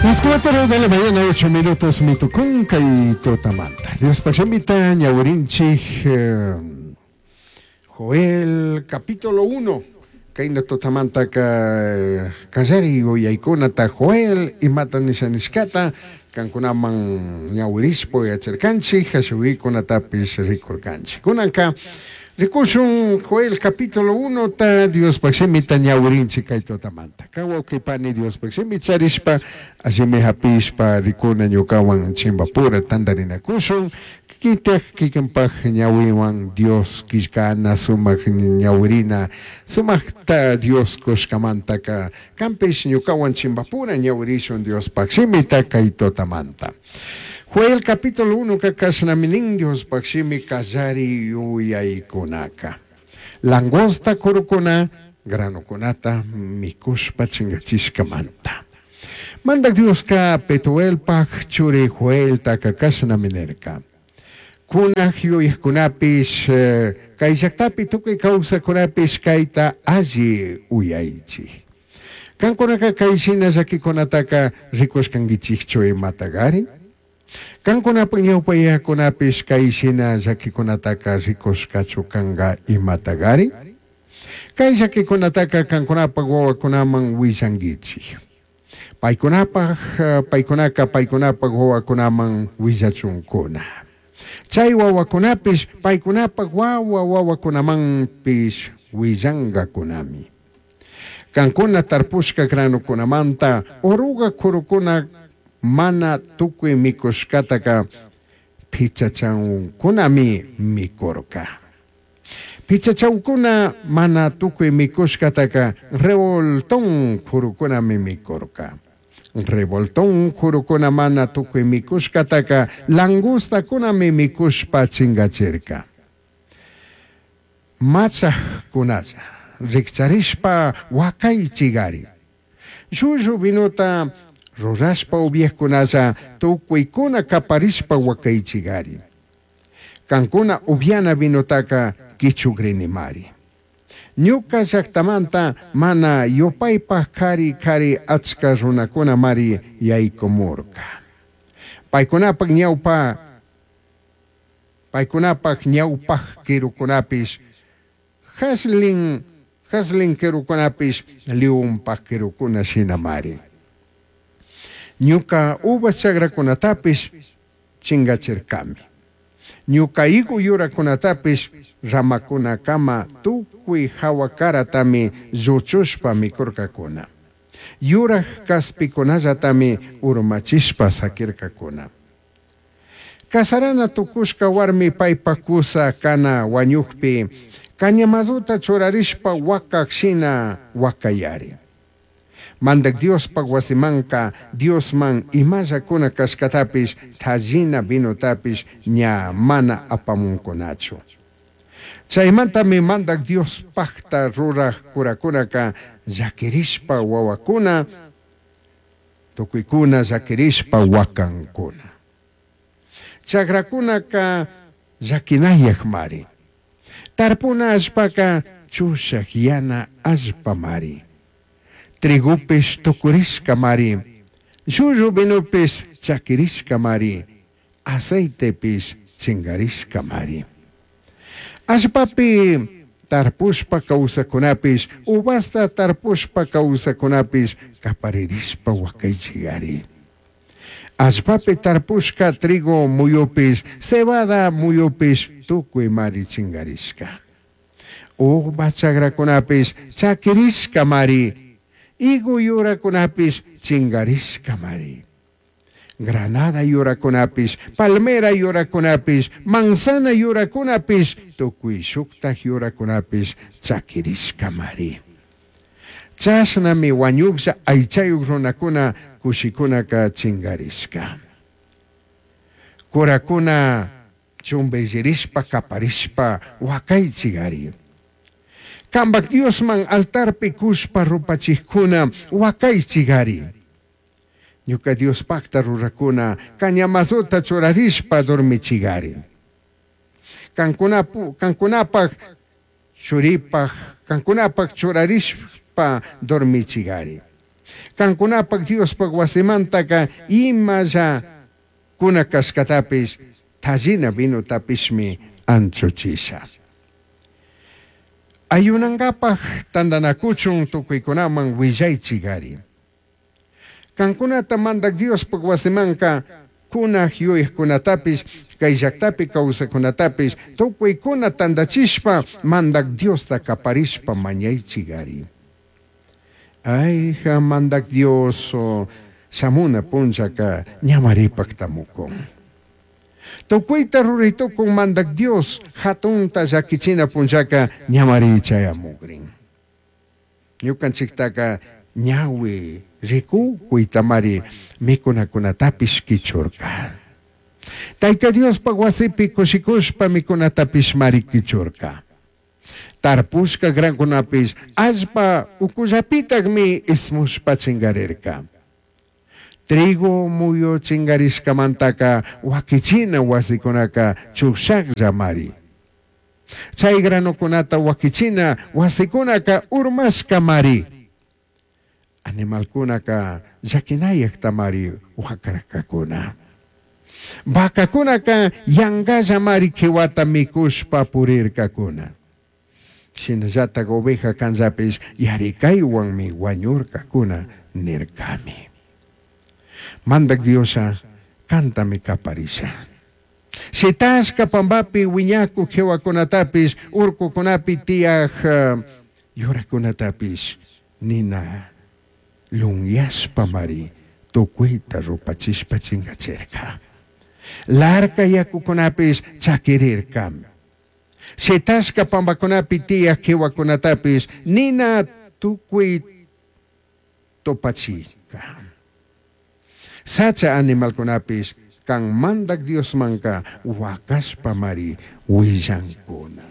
Las 4 de la mañana, 8 minutos, mitucunca y totamanta. Dios pachemita, ñawirinchik, Joel, capítulo 1. Kayna totamantaka kallari yuyaykunata Joel imata nisha nishkata kankunaman ñawirishpa uyachirkanchik, ashuykunatapish rikurkanchik. Kunanka rikushun Joel capítulo 1 ta Diospaj shimita ñawirinchik kay tutamanta. Kan wawqi pani Diospaj shimi charishpa allimi hapishpa rikuna ñukawan chimbapura tantarinakushun. Kikintaj kikinpaj ñawiwan Dios killkana sumak ñawirina sumakta Dios kushkamantaka kanpish ñukawan chimbapura ñawirishun Diospaj shimita kay tutamanta. Joel capítulo 1 ka kashnami nin Diospaj shimi kallari yuyaykunaka. Langosta kurukuna granokunata mikushpa chingachishkamanta. Mandak Dioska Petuelpaj churi Joeltaka kashnami nirka. Kunaj yuyajkunapish kay llaktapi tukuy kawsakunapish kayta alli uyaychik. Kankunaka kay shina llakikunataka rikushkankichikchu imatagari? Kankunapaj ñawpa yayakunapish kay shina llakikunataka rikushkachu kanka imatagari? Kay llakikunataka kankunapaj wawakunaman willankichik. Paykunapaj, paykunaka paykunapaj wawakunaman willachunkuna. Chay wawakunapish paykunapaj wawa wawakunamanpish willankakunami. Kankuna tarpushka granokunamanta oruga kurukuna mana tukuy mikushkataka pichachawkunami mikurka. Pichachawkuna mana tukuy mikushkataka revoltón kurukunami mikurka. Revoltón kurukuna mana tukuy mikushkataka langostakunami mikushpa chingachirka. Machajkunalla rikcharishpa wakaychigari. Llullu vinota rurashpa upiajkunalla tukuykuna kaparishpa wakaychigari. Kankuna upiana vinotaka kichugrinimari. Ñuka llaktamanta mana yupaypaj kari kari achka runakuna mari yaykumurka. Paykunapaj ñawpa, paykunapaj ñawpaj kirukunapish, jaslin, jaslin kirukunapish leonpaj kirukuna shinamari. Ñuka uvas chakrakunatapish chingachirkami. Ñuka higo yurakunatapish ramakunakama tukuy hawa karatami lluchushpa mikurkakuna. Yuraj kaspikunallatami urmachishpa sakirkakuna. Kasarana tukushka warmi paypaj kusa kana wañukpi cañamazuta churarishpa wakaj shina wakayari. Mandak Diospaj wasimanka Diosman imallakuna kashkatapish tallina vinotapish ña mana apamunkunachu. Chaymantami Mandak Diospajta ruraj kurakunaka llakirishpa wawakuna, tukuykuna llakirishpa wakankuna. Chakrakunaka llakinayakmari. Tarpuna allpaka chushaj yana allpamari. Trigupish tukurishkamari. Llullu vinopish chakirishkamari. Aceitepish chingarishkamari. Allpapi tarpushpa kawsakunapish, uvasta tarpushpa kawsakunapish kaparirishpa wakaychigari. Allpapi tarpushka trigo muyupish, cebada muyupish tukuy mari chingarishka. Uva chakrakunapish chakirishkamari. Higo yurakunapish chingarishkamari. Granada yurakunapish, palmera yurakunapish, manzana yurakunapish, tukuy shuktaj yurakunapish chakirishkamari. Chashnami wañuklla aychayuk runakuna kushikunaka chingarishka. Kurakuna chumbillirishpa kaparishpa wakaychigari. Kambak Diosman altarpi kushpa rupachijkuna wakaychigari. Ñuka Diospakta rurakuna cañamazuta churarishpa dormichigari. Kankunapaj churipaj, kankunapaj churarishpa dormichigari. Cancunapaj Diospaj huasimantaca imalla cuna cashcatapish, tallina vinotapishmi anchuchisha. Ayunangapaj tandanacuchun tucuicunaman huillaichigari. Cancunata Mandaj Diospaj huasimanca cunaj yuyajcunatapish, cai llajtapi causajcunatapish tucuicuna tandachishpa Mandaj Diosta caparishpa mañaichigari. Aija Mandaj Dios, shamuna punllaca ñamari pajtamucun. Tucuita rurai tucun Mandaj Dios jatunta llaquichina punllaca ñamari chayamugrin. Ñucanchijtaca ñahui ricucuitamari micunacunatapish quichurca. Taita Diospaj huasipi cushicushpa micunatapishmari quichurca. Tarpushca grancunapish allpa ucullapitajmi ismushpa chingarirca. Trigo muyu chingarishcamantaca huaquichina huasicunaca chujshajllamari. Chai granocunata huaquichina huasicunaca urmashcamari. Animalcunaca llaquinayajtamari huacarcacuna. Vacacunaca yangallamari quihuata micushpa purircacuna. Shinallataj oveja canllapish yaricaihuanmi huañurcacuna nircami. Mandaj Dioslla cantami caparisha. Shitashca pambapi huiñacuj quihuacunatapish, urcucunapi tiyaj yuracunatapish nina lunyashpamari tucuita rupachishpa chingachirca. Larca yacucunapish chaquirircami. Shitashca pambacunapi tiyaj quihuacunatapish nina tucui tupachirca. Sacha animalcunapish can Mandaj Diosmanca huacashpamari huillancuna.